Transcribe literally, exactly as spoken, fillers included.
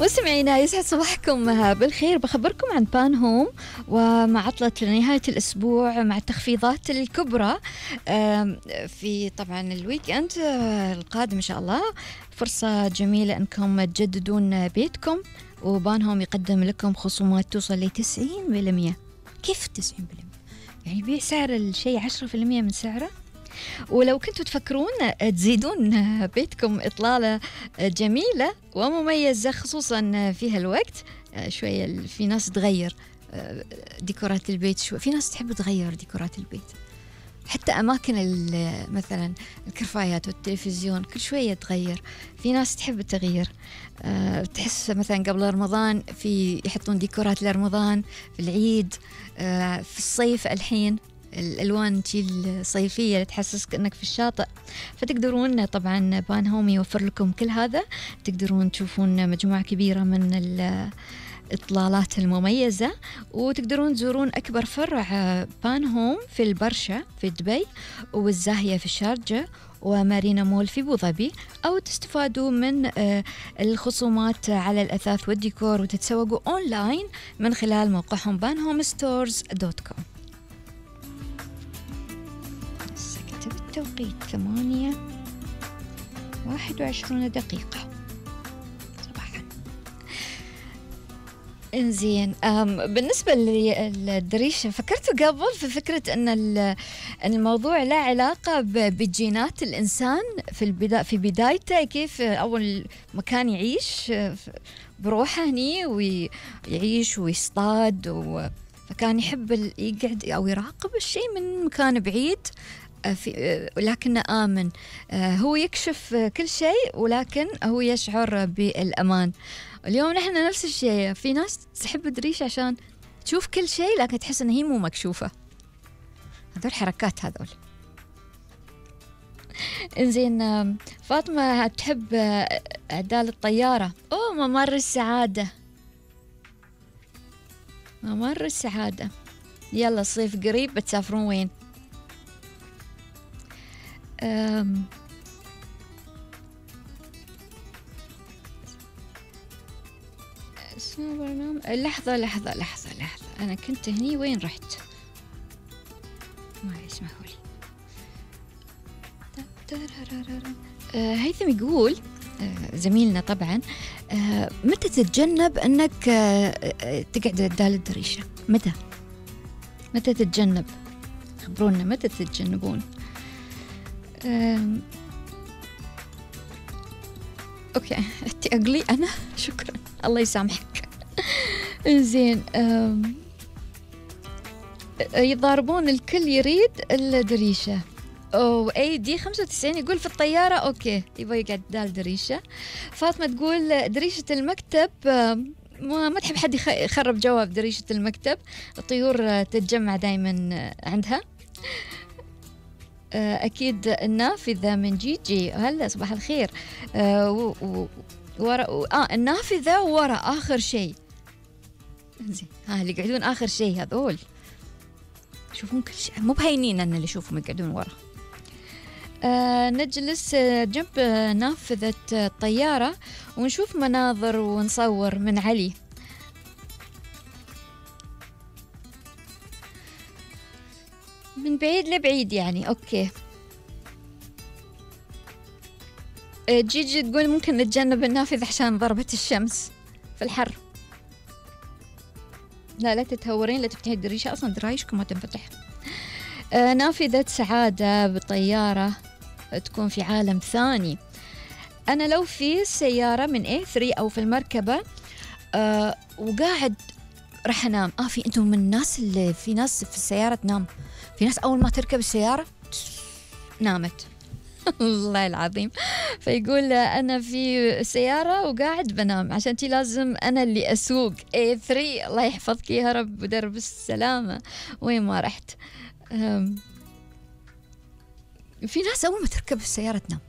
مستمعينا يسعد صباحكم بالخير. بخبركم عن بان هوم ومع عطلة نهاية الأسبوع مع التخفيضات الكبرى في طبعا الويك أند القادم إن شاء الله. فرصة جميلة أنكم تجددون بيتكم، وبان هوم يقدم لكم خصومات توصل لتسعين بالمئة. كيف تسعين بالمئة؟ يعني بيع سعر الشيء عشرة بالمئة من سعره. ولو كنتوا تفكرون تزيدون بيتكم إطلالة جميلة ومميزة خصوصا في هالوقت، شوية في ناس تغير ديكورات البيت، شوي في ناس تحب تغير ديكورات البيت، حتى أماكن مثلا الكرفايات والتلفزيون كل شوية تغير. في ناس تحب التغيير، أه تحس مثلا قبل رمضان في يحطون ديكورات لرمضان، في العيد، أه في الصيف الحين الألوان الصيفية اللي تحسسك أنك في الشاطئ. فتقدرون طبعا بان هوم يوفر لكم كل هذا. تقدرون تشوفون مجموعة كبيرة من الإطلالات المميزة، وتقدرون تزورون أكبر فرع بان هوم في البرشا في دبي، والزاهية في الشارجة، ومارينا مول في أبو ظبي، أو تستفادوا من الخصومات على الأثاث والديكور وتتسوقوا أونلاين من خلال موقعهم بان هوم ستورز دوت كوم. التوقيت ثمانية واحد وعشرون دقيقة صباحا. انزين، بالنسبة للدريشة فكرت قبل في فكرة أن الموضوع لا علاقة بجينات الإنسان في البداية، في بدايته كيف أول مكان يعيش بروحه هني ويعيش ويصطاد، فكان يحب يقعد أو يراقب الشيء من مكان بعيد، ولكنه آمن. هو يكشف كل شيء ولكن هو يشعر بالأمان. اليوم نحن نفس الشيء، في ناس تحب الدريشة عشان تشوف كل شيء لكن تحس أنها هي مو مكشوفة. هذول حركات هذول. إنزين، فاطمة تحب أعدال الطيارة. أوه، ممر السعادة، ممر السعادة. يلا الصيف قريب، بتسافرون وين؟ أم لحظة لحظة لحظة لحظة أنا كنت هني، وين رحت؟ ما يسمحوا لي. أه هيثم يقول، أه زميلنا طبعا، أه متى تتجنب أنك أه تقعد قدام الدريشة؟ متى؟ متى تتجنب؟ خبرونا متى تتجنبون؟ أم... اوكي انت اقلي انا شكرا، الله يسامحك. زين، أم... يضاربون الكل يريد الدريشة. او اي دي خمسة وتسعين يقول في الطيارة اوكي يبغى يقعد دال دريشة. فاطمة تقول دريشة المكتب ما ما تحب حد يخرب جواب دريشة المكتب، الطيور تتجمع دايما عندها. أكيد النافذة من جيجي، هلا صباح الخير. أه و... و... ورا آه النافذة ورا آخر شيء. زين، ها اللي يقعدون آخر شيء هذول يشوفون كل شيء، مو بهينين أن اللي يشوفهم يقعدون ورا. أه نجلس جنب نافذة الطيارة ونشوف مناظر ونصور من علي. من بعيد لبعيد يعني. أوكي، جيجي تقول ممكن نتجنب النافذة عشان ضربة الشمس في الحر. لا لا تتهورين، لا تفتحي الدريشة، أصلا درايشكم ما تنفتح. آه نافذة سعادة بالطيارة تكون في عالم ثاني. أنا لو في السيارة من إيه ثري أو في المركبة آه وقاعد راح أنام. آه في أنتم من الناس اللي في ناس في السيارة تنام، في ناس أول ما تركب السيارة نامت. الله العظيم. فيقول أنا في السيارة وقاعد بنام، عشان تي لازم أنا اللي أسوق. إيه ثري الله يحفظك يا رب ودرب السلامة وين ما رحت. في ناس أول ما تركب السيارة تنام.